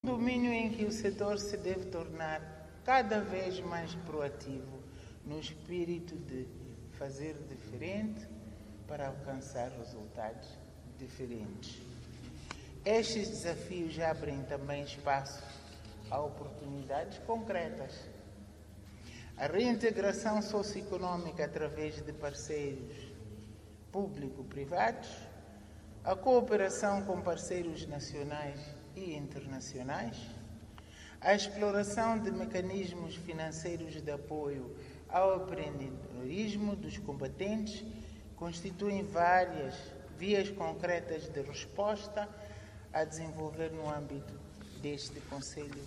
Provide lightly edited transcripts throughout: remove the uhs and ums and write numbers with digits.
Domínio em que o setor se deve tornar cada vez mais proativo, no espírito de fazer diferente para alcançar resultados diferentes. Estes desafios abrem também espaço a oportunidades concretas. A reintegração socioeconômica através de parceiros público-privados, a cooperação com parceiros nacionais e internacionais, a exploração de mecanismos financeiros de apoio ao empreendedorismo dos combatentes constituem várias vias concretas de resposta a desenvolver no âmbito deste Conselho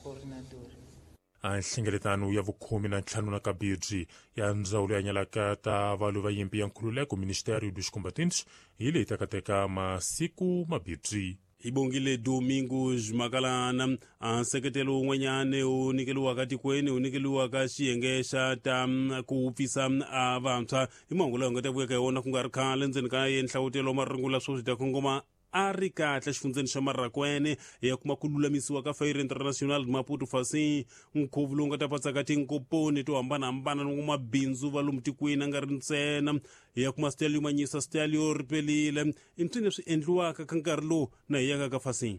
Coordenador. A nhlengeletano ya vukhume na ntlhanu na kabirhi ya ndzawulo ya nyalaka ta valwi va nyimpi ya nkhululeko, Ministério dos Combatentes, hi leyi takateka masiku mabirhi. Hi bongile Domingos Makalana. A nseketelo wun'wanyana wu nyikeliwaka tikweni wu nyikeliwaka xiyenge xa ta ku wupfisa a vantshwa hi mahungu lawa hi nga ta vuya ka yona ku nga ri khale ndzeni ka ye nhlawutelo wa marungula swo swi ta kongoma a ri kahle xifundzeni xa Marrakwene ya kuma ku lulamisiwa ka Feira International Maputo Facim, nkhuvo lowu nga ta patsaka tinkoponi to hambanahambana ni mabindzu va lomu tikweni a nga ri ntsena ya kuma stelio manyisa stelio ri pelile i mpsini leswi endliwaka ka nkarhi lowu na hi yaka ka Facim.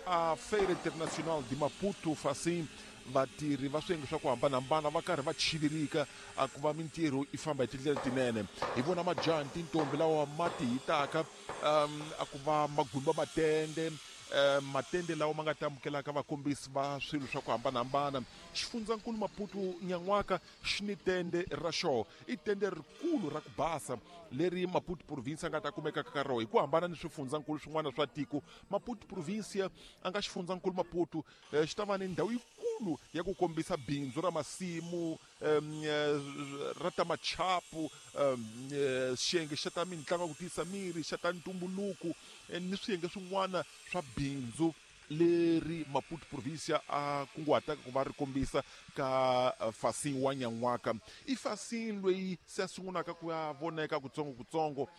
A Feira Internacional de Maputo Facim, vatirhi va swiyenge swa ku hambanahambana va karhi va chivirika a ku va mintirho yi famba hi tindlela tinene. Hi vona majaha ni tintombi lawa ma ti hitaka a ku va magumba matende, matende lawa ma nga ta amukelaka vakombisi va swilo swa ku hambanahambana. Xifundzankulu Maputo nyan'waka xi ni tende ra xoho, i tende rikulu ra ku basa leri Maputo province a nga ta kumekaka ka roho. Hi ku hambana ni swifundzankulu swin'wana swa tiko, Maputo province a nga xifundzankulu Maputo xi ta va ni ndhawu yikulu ya ku kombisa bindzu ra masimu, ra ta machapu, xiyenge xa ta mitlangu ya ku tiyisa miri, xa ta ntumbuluko ni swiyenge swin'wana swa bindzu leri Maputo provincia a kunguhataka ku va ri kombisa ka Facim wa nyan'waka. I Facim loyi se a sungulaka ku ya voneka kutsongo-kutsongo.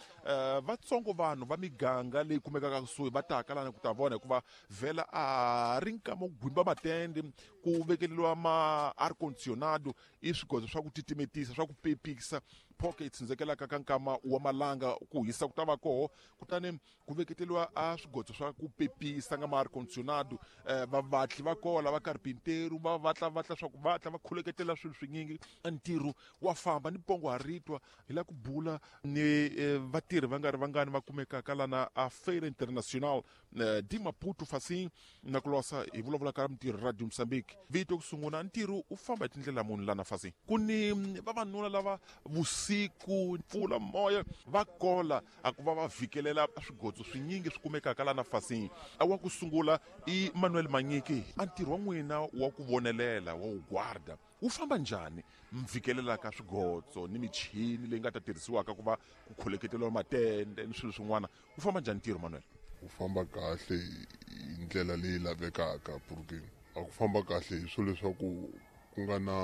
Vatsongo vanhu va miganga leyi kumekaka kusuhi va taka lana ku ta vona, hikuva vhela a ri nkama wo gwimba matende, ku vekeleriwa ma air condicionado, i swigodzo swa ku titimetisa, swa ku pepisa phoke yi tsundzekelaka ka nkama wa malanga, ku hisa ku ta va koho, kutani ku veketeriwa a swigodzo swa ku pepisa nga ma air condicionado. Vavatli va koho lava karpinteru va vatla vatla swa ku vatla va khuleketela swilo swinyingi, ntirho wa famba ni pongo ha ritwa. Hi la ku bula ni vatirhi va nga ri vangani va kumekaka lana a Feira Internacional de Maputo Facim na ku losa hi vulavula ka mintirho Radio Mozambique. Vito ku sungula ntirho u famba hi tindlela muni lana Facim? Ku ni vavanuna lava vusiku mpfula moya va kola a ku va va vhikelela swigodzo swinyingi swi kumekaka lana Facim. A wa ku sungula i Manuel Manyiki. A ntirho wa n'wina wa ku vonelela wa ku guarda wu famba njhani? Mi vhikelelaka swigodzo ni michini leyi nga ta tirhisiwaka ku va ku kholeketeriwa matende ni swilo swin'wana, wu famba njhani ntirho Manuel? Wu famba kahle hi ndlela leyi lavekaka, porque a ku famba kahle hi swilo leswaku ku nga na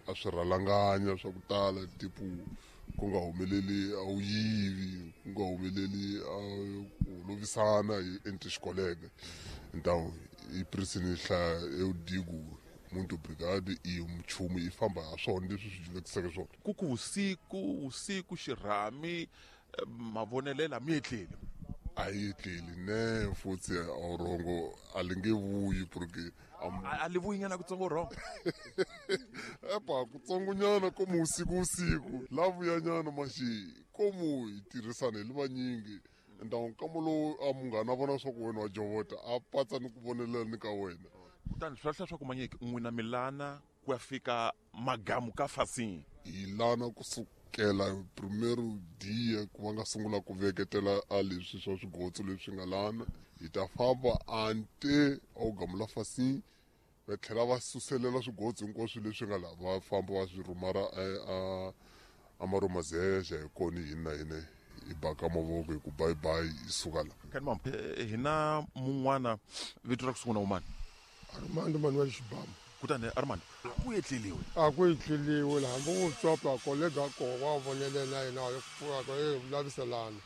a swirhalanganya swa ku tala, tipo ku nga humeleli a wu yivi, ku nga humeleli a ku lovisana hi entre xikoleke. Então i prison hlaya eu digo muito obrigado i nchumu yi famba ha swona leswi swi vekiseke swona. Ku ku vusiku vusiku xirhami mavonelela mi etleli? A yi etleli ne futhi a wu rhongo a li nge vuyi, porque a li vuyi nyana kutsongo rhongo. Epa kutsongonyana komu usiku usiku la vuyanyana maxi komu hi tirhisana hi li vanyingi. Então nkama lowu a munghana a vona swa ku wena wa jovota a patsa ni ku vonelela ni ka wena. Kutani swi lahla swa ku Manyiki n'wina milana ku ya fika magamu ka Facim? Hi lana kusukela primero dia ku va nga sungula ku veketela a leswi swa swigotso leswi nga lana, hi ta famba ante a wu gamu la Facim, va tlhela va suselela swigotso hinkwaswo leswi nga laha, va famba va swi rhumara a Maromazeja. Hi kona hina na hina hi baka mavoko hi ku bye bye hi suka la. Kani mama, hina mun'wana vito ra ku sungula wumani? Armando Manuel Xibamu. Kutani Armand, ku etleliwe? A ku etleliwe, hambi ku tsopa kolega ko wa vonelela yena e laviselana.